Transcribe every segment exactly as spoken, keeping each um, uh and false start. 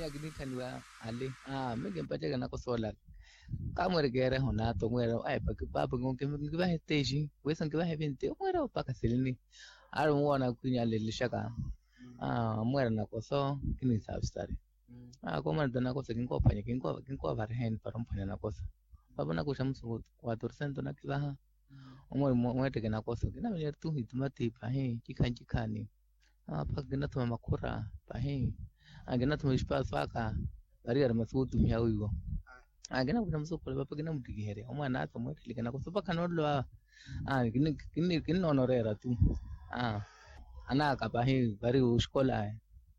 Kinikhaniwa ale. Aa mi kimpaceke nakoso olala. Kamwerekereho nato mwera ai paki papo nkivahe teishi. Wesa nkivahe vinti omwera opaka silini. Ari mwona kwinyaleleshaka. Aa mwera nakoso. Kinisavistari. Aa komwera ta nakoso kinkophwanya. Kinkovariheni para omphwanya nakoso. Papo nakuxa musuku. Quatrocento nakivaha. Omwera mwetteke nakoso kinamenyeri tu hitumati pahi. Kikhani kikhani. Aa mpakha kinathuma makhura. Pahi. Aa kinathuma espaswaka. Variyari masuku otumiha wiiwo. Aa kinakuxa musuku khula papo kinamuttikiherya omwana asa omwettheleke nakoso mpakha noololowa. Aa kinnoona oreera tu. Aa anaka pahi vari oxikola.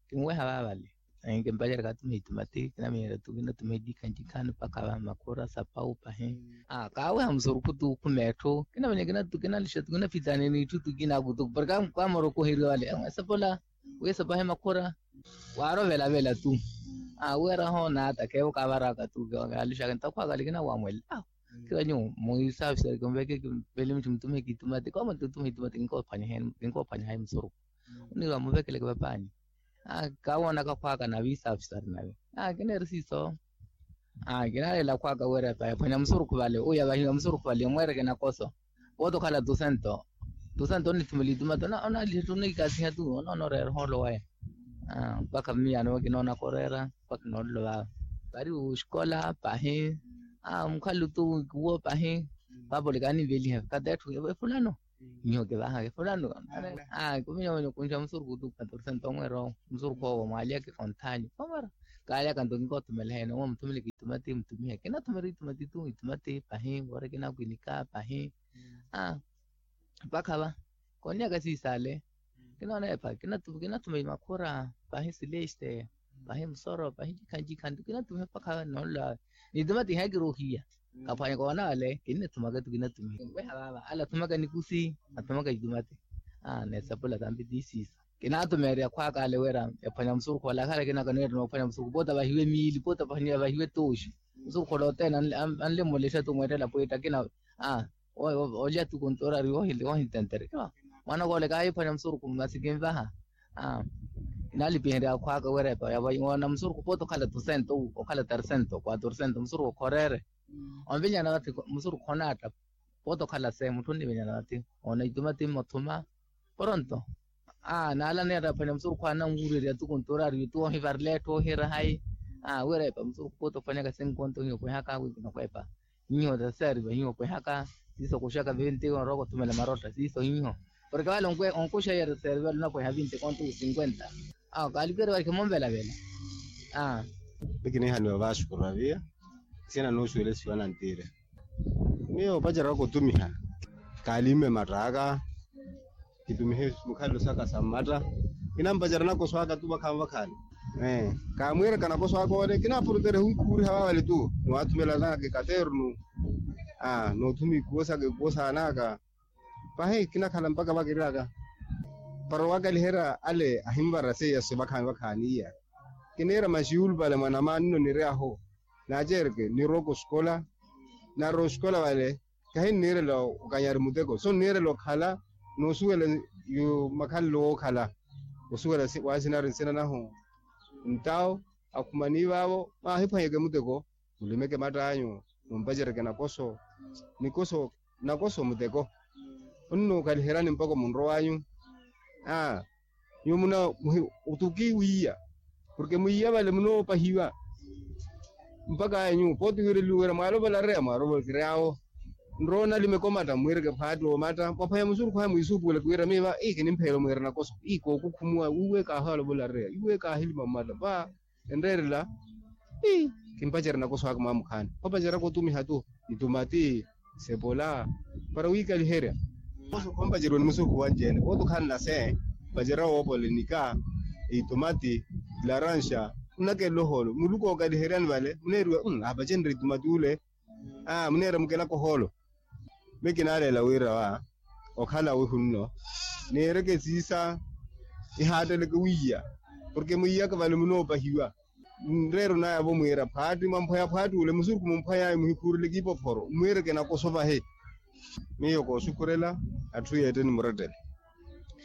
Kinweha vaavale. Kimpacerya katumiha itumati kinamenyerya tu kinatumiha etikhani tikhani mpakha va makhura sapau pahi. Aa kaaweha musurukhu tu khuma etthu kinamenya kinatu kinalixa tu kinafitani n'itthu tu kinaku tu porke kamorokoherya vale. Esapola. Wiisa pahi makhura. Waarovelavela tu. Aa weeraho naata kheevo kaavaraka tu. Kaalixaka ntakhwaakale kinawamwela. Kira nyuwo muisafisari kimpeke kimpele mitthu mutumihe kitumati kooma tutumihe itumati. Kinkophwanyahayi musurukhu. Oniiwa muvekeleke papaani. Aa kawoonaka khwaaka nave isafisari nave. Aa kineeri siiso. Aa kinalela khwaaka wira epa yaphwanya musurukhu vale oyo yavahiwa musurukhu vale yamweereke nakoso. Woota okhala tusento. Tusento onithumela itumati onaliha tu onikasiha tu. Onoona oreera ohoolo waya. Aa mpakha miyaano we kinoonaka oreera. Mpakha noololo vava. Vari oxikola pahi. Aa mukhalo tu wikuwo pahi. Vapole kaninveliha kata etthu efulano. Nyuwo kivahaka efulano. Aa kuminyomenya okunxa musurukhu tu quatrocento omwera owo. Musurukhu owo mwaaliyaka ekonthani omwera. Kaaliyaka nto kinkoothumela hene owo muthumela kitumati mutumiha kinathumela itumati tu itumati pahi wori kinakwinika pahi. Aa mpakha va. Kooniyaka siisale. Kinoona epha kinathuma imakhura. Pahi sileste. Pahi musoro pahi ncikha ncikha nto kinathumiha mpakha noolola. Nitumati ihayi kirohiya. Kaphwanya koona ale kinnithumaka tu kinathumiha. Weha vaava ale athumaka nikusi. Athumaka itumati. Aa nesapula tampi tiisiisa. Kinathumeerya khwaaka ale wira yaphwanya musurukhu ale akhala kinaka noyetta noophwanya musurukhu poota vahiwe miili poota vahiwe tooxi. Musurukhu ole othene anle mmulexa tu mweettela pwiitta kina. Aa olya tu kontorari wohitenterya. Mwaana kole kaahiphwanya musurukhu masi kinvaha. Aa kinalipiherya khwaaka wira epa yawoona musurukhu poota okhala tusento okhala tarisento quatrocento musurukhu okhoreere. Onvinyana vathi musurukhu onaatta. Poota okhala se mutthu onnivinyana vathi. Oona itumati mmothuma. Poronto. Aa naala niyetta aphwanya musurukhu ananwuurerya tu kontorari tu ohivarela etthu ohira hayi. Aa wira epa musurukhu poota ophwanyaka sinkonto hiyo pwehaka wiikinokwepa. Nyiho taseeriva hiho pwehaka. Siiso okuxaka vinti onrowa okothumela marotta siiso hiho. Porke vale onkuxa yeri seeriva lunapweha vinti konto cinkwenta. Awo kaalikeriwa khimomvelavela. Aa. Pikinihaniwa vaxukuravia. Sina nooxuwelesiwa nantire. Miyo opaceraka otumiha. Kaalimme mattaka. Kitumihe mukhalelo saka sa mmatta. Kinampacerya nakoso aka tu vakhaani vakhaani. Kaamwiiraka nakoso aka ole kinaapurutere hunkhuuriha vaavale tu. Niwathumelanaka ekaternu. Noothuma ikuwo saka ikuwo saanaka. Pahi kinakhala mpaka vakiraka. Para owakaliherya ale ahinvara seiya so vakhaani vakhaani iya. Kiniira maxiyulu vale mwanamaani nno niryahu. Naacereke nirowa koxikola. Naarowa oxikola vale. Kahinniirela okanyari muteko so nniirela okhala. Noosuwela makhalelo wookhala. Osuwela waasinari nsina nahu. Ntawo akhumani vaavo. Maahiphwanyeke muteko. Mulimeke matt'anyu. Mumpacereke nakoso. Nikoso nakoso muteko. Onnookaliheryani mpakha omunro w'anyu. Aa nyuwo muna muhi otuki wiiya. Porke mwiiya vale munoopahiwa. Mpakha aya nyuwo pooti wiireliwe wira mwaalovola areya mwaalovola kiryawo. Nrowa onalimeke omatta mwiireke phaati omatta mwaphwanya musurukhu aya mwiisuupuweleke wira miiva ii kinimpheela omwiira nakoso ii kookukhumuwa wiiwe kaahaalovola areya wiiwe kaahilima mmatta va. Enreerela. Ii kimpacerya nakoso aka mwaamukhaani opaceryaka otumiha tu. Itumati sepola para wiikaliherya. Ompaceriwe ni musurukhu wanci-ene pooti okhala nase. Mpacerya woopolenika itumati laranxa. Munakelela ohoolo muluku ookaliheryani vale muneeriwa. Aapacenrye itumati ule. Aa muneera mukelaka ohoolo. Miyo kinaaleela wira wa okhala wihu nno niireke siisa. Ihaatteleke wiiya porke mwiiyaka vale munoopahiwa. Nreero naya-vo mwiira phaatti mwamphwaya phaatti ule musurukhu mumphway'anyu muhikhuureleke ipophoro mwiireke nakoso vahe. Miyo koosukhurela atthu yeetteni murettele.